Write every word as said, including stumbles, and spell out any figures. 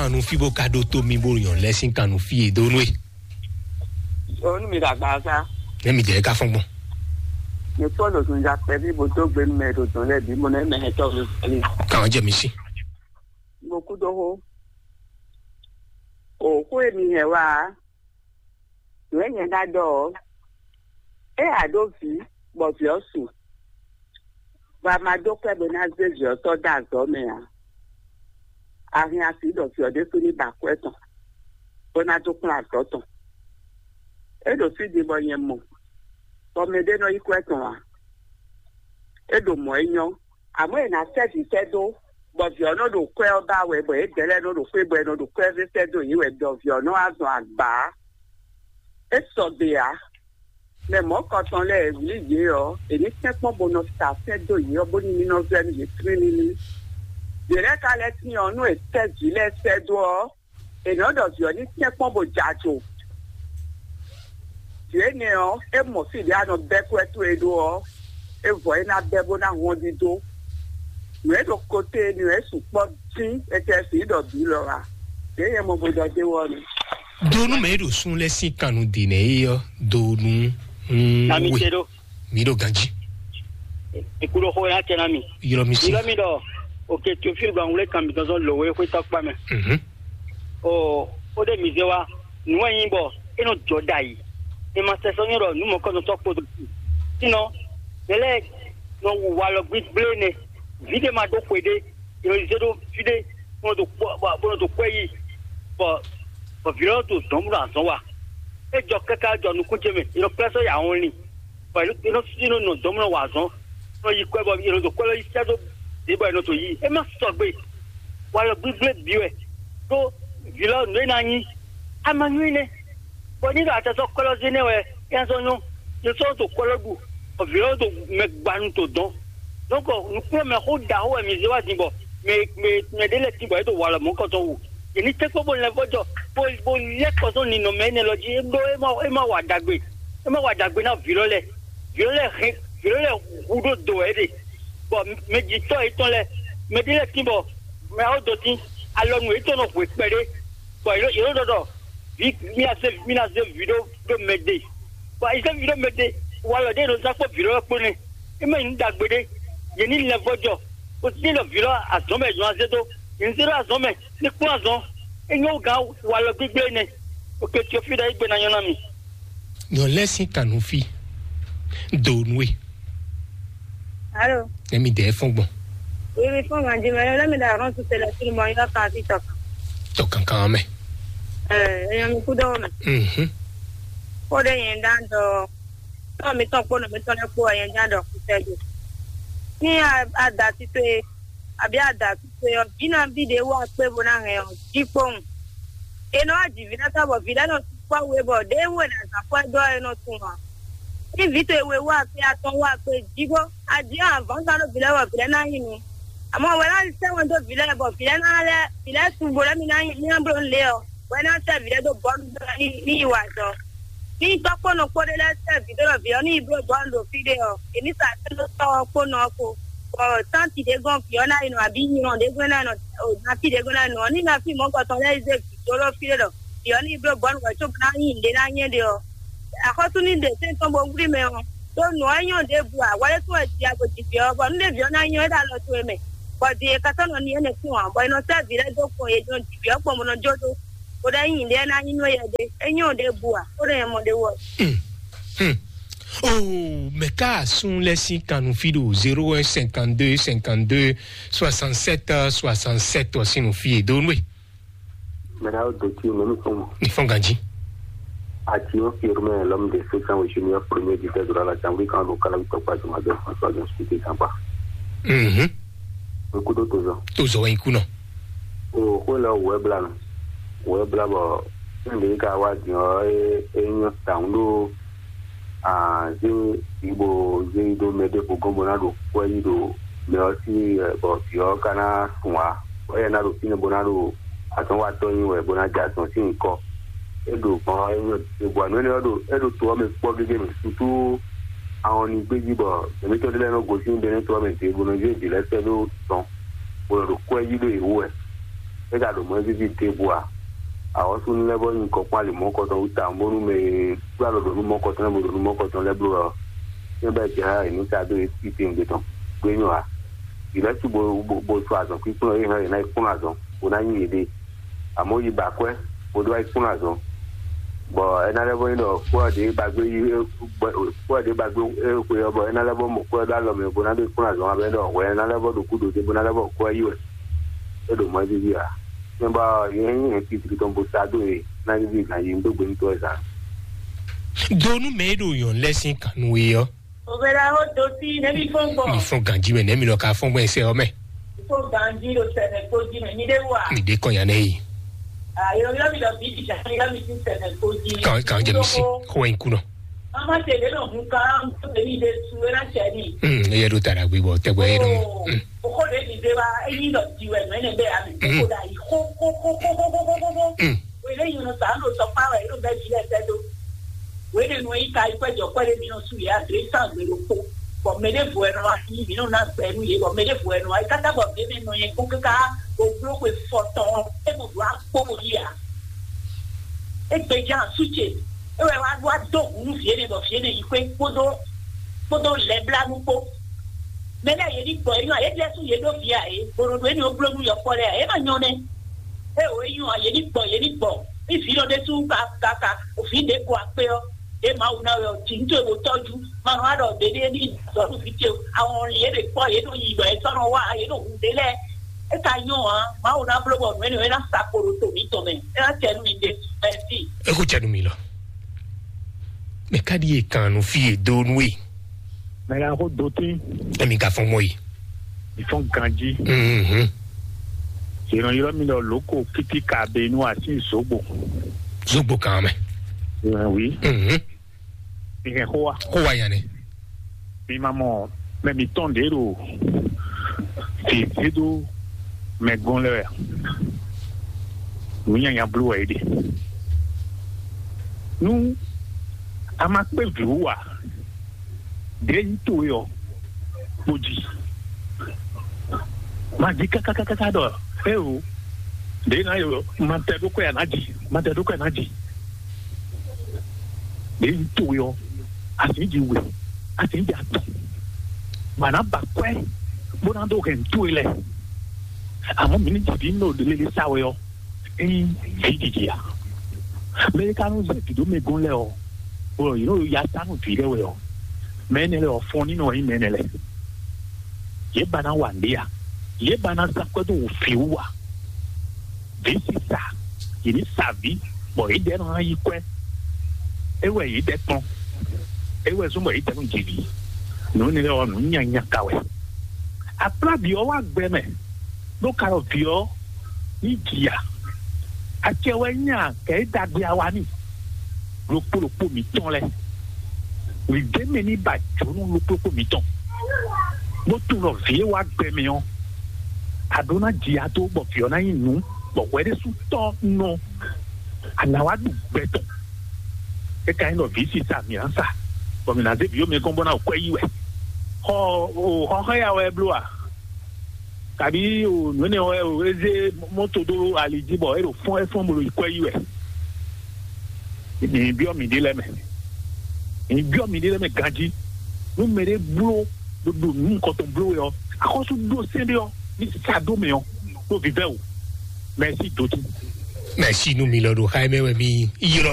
Kanu fí bó ka ɖó tó mì bó nyɔ lɛ́ sín kanu fí e dó nú e. Onu mi ɖagba sa. Nɛ mi jɛ ka fɔn gbɔn. Mi kpɔ ɖo sunja kpɛvi bó dó gbe nú mɛ ɖo dɔn lɛ bí mo nɛ mɛ hɛn tɔ mi fɛli. Kàn jẹ mi sí. Mo kú dó hó. O kó e mi hɛn wá. Nǔ e nyɛ ná ɖɔ ɔ́, é a ɖó vǐ, bɔ vǐ ɔ́ su, bɔ a ma dó kwɛ́ bó ná zé vǐ ɔ́ tɔ́ dó azɔ̌ mɛ ǎ. A hɛn asi ɖɔ vǐ ɔ́ ɖésú ní ba kwɛ́ tɔn, bó ná dó kplɔ́n azɔ̌ tɔn. É ɖo fí din bɔ nyɛ mɔ, bɔ mɛɖé nɔ yí kwɛ́ tɔn ǎ. É ɖo mɔ̌ é nyɔ́, àmọ́ è nǎ sɛ́ vǐ sɛ́ dó, bɔ vǐ ɔ́ nɔ ɖo kwɛ́ ɔ́ ba wɛ, bɔ yědɛɛ lɛ́ɛ nɔ ɖo xwé bɔ è nɔ ɖo kwɛ́ sɛ́ dó yě wɛ, ɖɔ vǐ ɔ́ nɔ wá zɔn agba ǎ. É sɔgbe ǎ. Mɛ mɔ̌kɔtɔn lɛ́ɛ e wlí yě ɔ́, è ní tɛ́nkpɔ́n bó nɔ sa sɛ́ dó yě ɔ́, bónú ní nɔ vɛ́ nú yě tlílílí. Yě lɛ́ɛ ka lɛ́ tín ɔ́, nú è tɛ́ vǐ lɛ́ɛ sɛ́ dó ɔ́, è nɔ́ ɖɔ vǐ ɔ́ ní tɛ́nkpɔ́n bó jɛ ajo. Vǐ énɛ́ ɔ́, é mɔ fí ɖě a nɔ bɛ́ kwɛ́ towe ɖó ɔ́, é vɔ é ná bɛ́ bó ná hɔn dídó. Nǔ e ɖo kote nǔ e sukpɔ́ dín, è tɛ sǐ ɖɔ bǐ lɔ ǎ. Yě nyɛ mɔ bó ɖɔ d'é wɔ nú. Donu mɛ e ɖo sun lɛ sín kannu ɖi nɛ yi ɔ donu. Nami we te ɖo. Mi ɖo ganji. Ikú ɖo xó ya tɛ na mi. Yɔrɔ mi si. Yɔrɔ mi ɖɔ. Oke Teofil gba ŋwlé kan mi dɔzɔn lowe xwé tɔkpa mɛ. Mhm. O o ɖe mi zé wa. Nǔ wɛ nyi bɔ e nɔ jɔ ɖa yi. E ma sɛ sɔ nyɔ ɖɔ nǔ mɔ kɔ nɔ tɔ kpo. Sinɔ mɛ lɛ nɔ wu walɔ gbigblé nɛ. Vi ɖe ma ɖó xwe ɖé. Yɔ zé ɖo fi ɖé. Bó nɔ do kpɔ bó nɔ do kpɔ yi. Bɔ bɔ vi lɔ to dɔn bó nɔ azɔn wa. E jɔ kaka jɔ nukún ce mɛ. Yɔ kplɛ sɔ ya wɔn li. Bɔ yɛ nɔ yɛ nɔ nɔ dɔn bó nɔ wa azɔn. Nɔ yi kɔɛ bɔ yɛ nɔ do kɔɛ lɔ yi sɛ do. Ɖe bɔ yɛ nɔ to yi. E ma sɔgbe. Walɔ gbigblé bi wɛ. Ɖó vi lɔ nǔ e ná nyi. A ma nyɔ́ nɛ. Bɔ ní ɖo atɛ sɔ́ kɔ́lɔ́ zé nɛ́ wɛ é ná sɔ́ nyɔ́. Yě sɔ́ ɖo kɔ́lɔ́ ɖu, bɔ vǐ ɔ́ ɖo mɛ gbanu to dɔn. Donc nukplɔ́nmɛ xó ɖaxó wɛ mǐ zé wá din bɔ mɛ mɛ mɛ ɖé lɛ́ɛ tín bɔ é ɖo walɔ mɔ̌kɔtɔn wú. Yě ní tɛ́nkpɔ́n bó lɛ́ vɔ́jɔ bó bó lɛ́ kɔ sɔ́ ninɔmɛ énɛ́ lɔ jí. É ɖó é ma é ma wa ɖagbe, é ma wa ɖagbe ná vǐ lɔ lɛ́ɛ. Vǐ lɔ lɛ́ɛ hɛn vǐ lɔ lɛ́ɛ hu ɖó do wɛ é ɖe. Bɔ mɛ jǐtɔ́ yětɔn lɛ́ɛ mɛ ɖé lɛ́ɛ tín bɔ mɛ ɔ́ dó tín alɔnu yětɔn nɔ hwe kpɛɖé. Bɔ yě ɖo yě ɖo ɖɔ ɖɔ vi mi ná se mi ná se vi ɖó ɖó mɛ ɖe. Bɔ yi se vi ɖó mɛ ɖe, walɔ ɖe ɖo zán kpó vi ɖó kpó nɛ. É mɛ nyí ɖagbe ɖé. Yě ní lɛ vɔ́ jɔ. O sí ɖɔ vi ɖó azɔn mɛ yě nɔ azé dó. Yě ní zé ɖó azɔn mɛ ní kplɔ́n azɔn. É nyɔ́ gán walɔ gbígbé nɛ. Oke tí o fi ɖɔ é gbe ná nyɔ́ ná mi. Nyɔ lɛ sín kanu fí. Do nue. Alo. Emi dɛ fɔn gbɔn. Ibi fún ma di mɛ lé mi da rɔn tu tele tu mɔ yɔ kan ti tɔ. Tɔ kankan mɛ. Ɛ eyɔn mi kú dɔwɔ mɛ. Mhm. Kó de yẹn dá dɔ tɔ mi tɔn kpó nɔ mi tɔn lɛ kpó yẹn dá dɔ kú tɛ do. Ní a da tito ye àbí a da tito ye ɔ, jí na bí de wá kpé bo ná hɛn ɔ, jí kpóhùn. E nɔ wá jì ví lɛ́ɛ sɔ́ bɔ ví lɛ́ɛ nɔ sukpɔ́ we bɔ ɖěe wú è nǎ zán kwɛ́ dó ɔ́, é nɔ tunwun ǎ. Ní vǐ towe we wú akpé atɔn wú akpé jí bó a jǐ avǎngbá ɖó vǐ lɛ́ɛ bɔ vǐ lɛ́ɛ ná nyi nǔ. Àmọ́ wɛ ná sɛ́ wɛn dó vǐ lɛ́ɛ bɔ vǐ lɛ́ɛ ná lɛ́ vǐ lɛ́ɛ su bo lɛ́ mi ná nyi ní ná bló nǔ lě ɔ́, wɛ ná sɛ́ vǐ lɛ́ɛ dó bɔ̌ nú ní ní yi wa azɔ̌. Ní tɔ́ kpó nɔ kpó ɖé lɛ́ɛ sɛ́ vǐ dó ɖɔ vǐ ɔ́ ní yi bló bɔ̌ nǔ ɖo fí ɖé ɔ́, è ní sa sɛ́ dó tɔ́ ɔ́ kpó nɔ ɔ́ kpó. Bɔ tánti ɖé gɔ́n vǐ ɔ́ ná yi nɔ abǐ nyɔ̌ ɖé gɔ́n ná yi nɔ o nafi ɖé gɔ́n ná yi nɔ ɔ́, ní nafi mɔ̌kɔtɔn lɛ́ɛ yi zé vǐ dó ɖó fí ɖé ɖɔ vǐ ɔ́ ní yi bló bɔ̌ nǔ wɛ có bó ná nyi nǔɖé ná nyɛ ɖe ɔ́, axɔ́sú ní ɖe sɛ́n tɔn bó wlí mɛ ɔ́, ɖó nǔ ɔ́ nyɔ́ ɖěbǔ ǎ, wɛ é tún wɛ ji ago ji vǐ ɔ́, bɔ nú ɖé vǐ ɔ́ ná nyɔ́ é ɖo alɔ towe mɛ, bɔ din e ka sɔ́ nɔ ní énɛ́ kún ǎ, bɔ è nɔ sɛ́ vǐ lɛ́ɛ dó kpɔn yě nɔ ji vǐ ɔ́ kpɔn bó nɔ jó dó, bó ɖɔ é nyi nǔɖé ná nyí nú éyɛ́ ɖé, é nyɔ́ ɖěbǔ ǎ, bó ɖɔ nyɛ mɔ ɖé wɔ. Hmm. Hmm. Oh, mɛ ka sun lɛ sín kanu fí ɖo zéro un cinquante deux cinquante deux soixante sept soixante sept ɔ sín nú fí e dó nú e. Mɛ ɖawo dó tí mɛ mi fún mɔ. Ní fɔn ganji. Ati o firme l'homme de sept cents au junior premier du fait de la chambre quand le calme tɔkpa du ma de François Jean Spiti Samba. Mhm. N kudo tozɔ. Tozɔ wɛ n kunɔ. O xwe lɛ wɛ bla nɔ. Wɛ bla bɔ n de ka wa diɔ e e nyɔ tawun ɖo a zé yi bo zé yi ɖo mɛ ɖé xo gɔn bó ná ɖo kwɛ yi ɖo mɛ ɔ́ sí bɔ vǐ ɔ́ ka ná sun ǎ. Bɔ éyɛ́ ná ɖo fínɛ́ bó ná ɖo azɔ̌nwatɔ́ nyi wɛ bó ná jɛ azɔ̌ sín nyǐkɔ. É ɖo gbɔn ɔ́ é nyɔ te bɔ nǔ énɛ́ ɔ́ ɖo é ɖo to ɔ́ mɛ kpɔ́ gégé mɛ sutu ahɔn ní gbéjí bɔ mɛ̌tɔ́ ɖé lɛ́ɛ nɔ gosín bɛ́nɛ́ to ɔ́ mɛ dě bó nɔ zé vǐ lɛ́ɛ sɛ́ ɖó tɔn bó nɔ ɖo kwɛ yí ɖó yě wú wɛ. É ka ɖo mɔ̌ víví ɖěbǔ ǎ. Awɔ̌súnú lɛ́ɛ bɔ nyí kɔ kpán ali mɔ̌kɔtɔn wú tawun bónú mɛ e gbá lɔ ɖo nú mɔ̌kɔtɔn lɛ́ɛ bó ɖo nú mɔ̌kɔtɔn lɛ́ɛ bló ɔ, é bɛ́ jɛ xá è nú sa dó e titewungbe tɔn gbé nyɔ ǎ. Vǐ lɛ́ɛ su bo bo bo su azɔn kpíkplɔ́n é hɛn è ná yi kplɔ́n azɔn bó ná nyi yěɖée. Amɔ̌ yi ba akwɛ́ bó ɖó wá yi kplɔ́n azɔn. Bɔ é ná lɛ́ vɔ nyí ɖɔ kwɛ́ ɔ́ ɖě ba gbé yi kwɛ́ ɔ́ ɖě ba gbé xwe ɔ́ bɔ é ná lɛ́ vɔ mɔ kwɛ́ ɔ́ ɖó alɔ mɛ bó ná ɖó yi kplɔ́n azɔn abɛ ɖɔ hwɛ é ná lɛ́ vɔ ɖo kúdo dé bó ná lɛ́ vɔ kwɛ́ yi wɛ. É ɖo mɔ̌ víví ǎ. Mɛ bɔ yě nyí hɛn titri tɔn bó sa dó e ná víví gǎn yi dó gbe nú tɔ́ ɛ zǎn. Do nú mɛ e ɖo nyɔ̌nu lɛ́ɛ sín kan nú we ɔ́. Òbɛ̀rẹ̀ ó do sí nẹ́bí fún gbọ̀n. Mi fún ganji mɛ nẹ́mi lọ ka fún gbọ́n ẹsẹ̀ ọmẹ. Fún ganji ló sẹ̀nẹ̀ kó jí mẹ́ ní dé wà. Mi dé kọ́ yan nẹ́yìn. Àyè oyọ́ mi lọ bí ìjà mi lọ́ mi sí sẹ̀nẹ̀ kó jí. Kàn kàn jẹ mi sí. Kó wá ikú náà. Mama tẹ̀lé lọ hun kan tó tẹ̀lé ìdè su ẹ̀ náà tẹ̀ ní. Hmm, ẹ yẹ ɖo tara gbé bɔ tẹgbẹ́ yẹ ɖo. Oh, okó de ní dé wa eyín lọ di wẹ̀ mẹ́nẹ̀ bẹ́ẹ̀ àmì. Hmm. Kókó dà yìí kókókókókókókó. Hmm. Wele yi nɔ sa nɔ sɔ kpa wɛ yɔ bɛ fi lɛ tɛ do. Wele nɔ yi ka yi kpɛ jɔ kpɛ de mi nɔ su yɛ adre san gbe ɖo kpo. Bɔn mɛ de vo ɛnɔ wa yi mi nɔ na gbɛ nu ye bɔn mɛ de vo ɛnɔ wa yi kaka bɔ mɛ mɛ nɔ yɛ kó kaka o blo xwe fɔtɔn e mo do akpo mo yi a. E gbe jan su ce e wɛ wa wa do hu nu vie ne bɔ vie ne yi kwe kpodo kpodo lɛ bla nu kpo. Mɛ lɛ ye ni gbɔ yi nɔ ye lɛ su ye do vi a ye bolo do e ni o blo nu yɔ kpɔ lɛ a ye ma nyɔ nɛ. E o yi nyɔ a ye ni gbɔ ye ni gbɔ. Ivi lɔ ɖe su ka ka ka ofi ɖe ko akpe ɔ ɖe Mawu na wɛ ɔ ti ŋutɔ e wo tɔju ma nɔ aɖɔ ɖe ɖe ni zɔ nu vi ce awɔn ye ɖe kpɔ ye ɖo yi ɖɔ e sɔ nɔ wa ye ɖo hu ɖe lɛ. E ka nyɔ a Mawu na blo bɔ nu e na sa kpo ɖo to mi tɔn mɛ e na tɛ nu mi ɖe. Mɛsi. Eku tɛ nu mi lɔ. Mɛ ka ɖi e kan nu fi e do nu e. Mɛ la ko do tin. Emi ka fɔn mɔ yi. Ìfɔn ganji. Mhm. Yìnbọn yìnbọn mi lɔ lóko kíkí ka be inú àti zogbo. Zogbo kan mɛ. Ìwọ̀n wí. Mhm. Ìhẹn kó wa. Kó wa yan ni. Mi ma mɔ mɛ mi tɔn ɖe ɖo fèsì ɖo mɛ gɔn lɛ wɛ. Nǔ nyanya bló wɛ é ɖe. Nú a ma kpé vǐ wú a, ɖě nyí towe ɔ́, kpo jí. Ma jí kákákáká ɖɔ é o, ɖě ná yɔ ma tɛ ɖó kɔ́ yà ná jí, ma tɛ ɖó kɔ́ yà ná jí. Ɖě nyí towe ɔ́, a sì ń jí we, a sì ń jí atɔn. Màá ná ba kwɛ́ bó ná dó hɛn towe lɛ. Àmọ́ mi ní jìbí nɔ lele sá wɛ ɔ́, ényí vǐ jiji a? Mɛ e ka nɔ zé vǐ ɖó mɛ gɔ́n lɛ́ɛ ɔ́, bɔ yě nɔ ya sá nú vǐ lɛ́ɛ wɛ ɔ́, mɛ énɛ́ lɛ́ɛ ɔ́, fɔn ní nɔ nyí mɛ énɛ́ lɛ́ɛ. Yě ba ná wa nǔɖé a? Yě ba ná zán kwɛ́ dó wǔ vǐ wú a? Vǐ sisa, yě ní sa vǐ, bɔ yě dɛ́ nɔ ná yí kwɛ́. É wɛ yě dɛ́ kpɔ́n. É wɛ zɔ́n bɔ yě dɛ́ nɔ jɛ vǐ. Nǔ énɛ́ lɛ́ɛ ɔ́, nǔ nyanya ka wɛ. Akplábǐ ɔ́ wá gbɛ mɛ, ɖó ka ɖɔ vǐ ɔ́ ní jǐ a? Acɛ wɛ nyí a kɛ é dagbe a wa n'i ɖokpó ɖokpó mǐtɔn lɛ́ɛ. Wǐ ɖ'é mɛ ní ba jǒnú ɖokpó ɖokpó mǐtɔn, bó tunwun ɖɔ vǐ e wá gbɛ mɛ ɔ́, a ɖó ná ji a dó bɔ vǐ ɔ́ ná nyí nǔ, bɔ hwɛ ɖésú tɔ́ nɔ a nǎ wá ɖu gbɛ tɔn. É ka nyí ɖɔ vǐ sisa mǐ ná sa, bɔ mǐ ná zé vǐ ɔ́ mɛ gɔ́n bó ná ɖo kwɛ́ yí wɛ. Xɔ o xɔ xɔ ya wɛ bló a? Kabi o nǔ énɛ́ wɛ o é zé mɔto dó ali jí bɔ é ɖo fɔ́n é fɔ́n bó ɖo yi kwɛ́ yí wɛ. Mi byɔ́ mi ɖé lɛ́ɛ mɛ. Mi byɔ́ mi ɖé lɛ́ɛ mɛ ganjí. Nú mɛ ɖé bló ɖo ɖo nǔ nukɔntɔn bló wɛ ɔ́, axɔ́sú ɖó sɛ́n ɖé ɔ́, ní sa dó mɛ ɔ́, ɖó vívɛ́ o. Mɛ̌si dǒtú. Mɛ̌si nú mi lɔ ɖo xá mɛ wɛ mi ylɔ́